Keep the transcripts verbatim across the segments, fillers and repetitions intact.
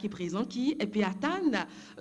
ki prezan, ki pe atann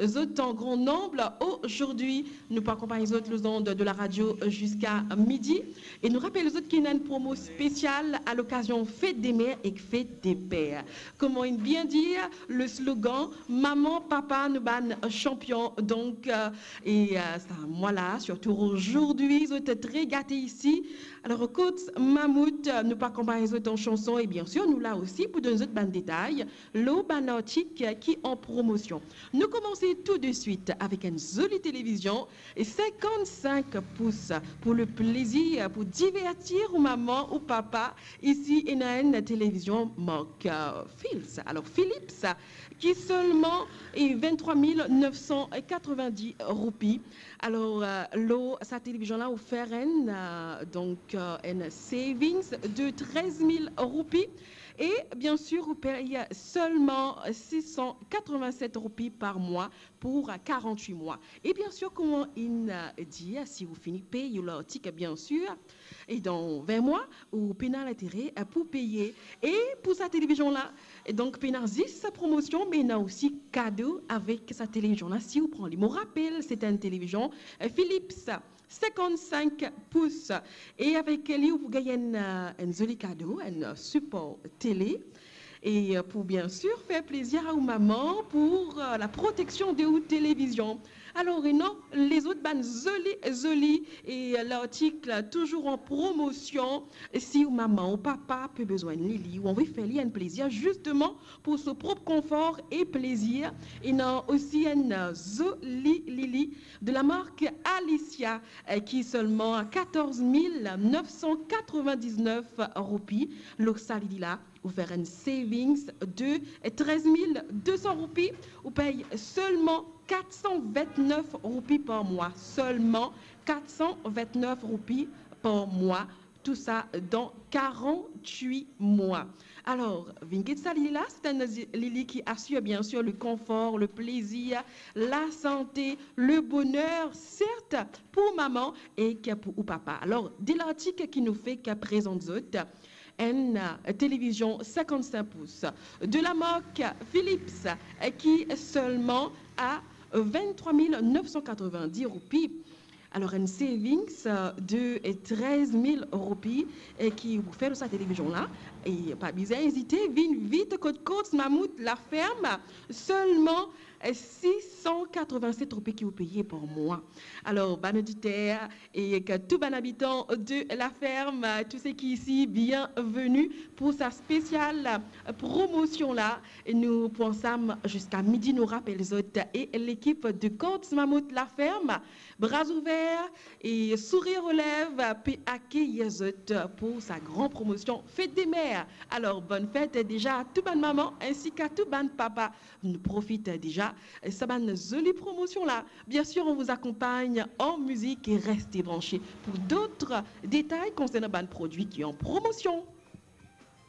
zot an gran nonb ozordi. Nou pou akonpagn zot lor zond de la radio ziska midi. E nou rapel zot ki ena enn promo spesial a lokazion Fête des Mères ek Fête des Pères. Kouma inn bien dir, le slogan, maman, papa, nou bann sanpion. Donk, euh, e, euh, sa mwa la, sirtou ozordi, zot tre gate isi. Alor, kot Mamout, nou pou akonpagn zot an sanson e, bien sir, nou la osi pou donn zot bann detay lor bann artik ki an promosion. Nou koumans tou de swit avek enn zoli televizion, cinquante-cinq pouces, pour le plaisir, pour divertir ou maman ou papa. Isi, ena enn televizion mark, euh, Philips. Alor, Philips, ki selman e vingt-trois mille neuf cent quatre-vingt-dix roupi. Alor, euh, lor sa televizion la, ou fer enn, euh, donk, euh, enn savings de treize mille roupi. E, bien sir, ou pey selman six cent quatre-vingt-sept roupi par mwa pou quarante-huit mwa. E, bien sir, kouma inn, euh, dir, si ou fini pey ou lartik, bien sir, e dan vin mwa, ou pena lintere, euh, pou peye. E pou sa televizion la, e donk, pena zis sa promosion, me ena osi kado avek sa televizion la, si ou pran li. Mo rapel, se enn televizion, euh, Philips, cinquante-cinq pouces. E avek li, ou pou gagn enn, euh, enn zoli kado, enn, euh, sipor tele. E, euh, pou, bien sir, fer plezir a ou maman pour, euh, la proteksion de ou televizion. Alor, ena lezot bann zoli, zoli, e, euh, lartik touzour an promosion. Si ou maman ou papa pe bizin li, li, ou anvi fer li enn plezir, zisteman, pour so prop konfor e plezir, ena osi enn, euh, zoli lili de la mark Alicia, euh, ki selman a quatorze mille neuf cent quatre-vingt-dix-neuf roupi. Lor sa lili la, ou fer enn savings de treize mille deux cents roupi, ou pey selman quatre cent vingt-neuf roupi par mwa, selman quatre cent vingt-neuf roupi par mwa, tou sa dan quarante-huit mwa. Alor, vinn get sa lili la, se enn zi-, lili ki asir, bien sir, le konfor, le plezir, la sante, le boner, sert pou maman ek pou ou papa. Alor, de lartik ki nou fek prezant zot, enn, euh, televizion cinquante-cinq pouces de la mark Philips, euh, ki selman a vingt-trois mille neuf cent quatre-vingt-dix roupi. Alor, enn savings, euh, de, euh, treize mille roupi, euh, ki ou fer lor sa televizion la. E pa bizin ezite, vinn vit kot Courts Mammouth La Ferme, selman, euh, six cent quatre-vingt-sept roupi ki ou peye par mwa. Alor, bann oditer e tou bann abitan de La Ferme, tou seki isi, bienveni pour sa spesial promosion la. E nou pou ansam ziska midi, nou rapel zot e lekip de Courts Mammouth La Ferme, bra ouver e sourir aux lèvres, pe akeyir zot pour sa gran promosion Fête des Mères. Alor, bonne fête deza a tou bann maman ensi ki a tou bann papa. Nou profit deza sa bann zoli promosion la. Bien sir, on vous accompagne en musique et restez branchés pour d'autres détails concernant bann prodwi ki an promosion.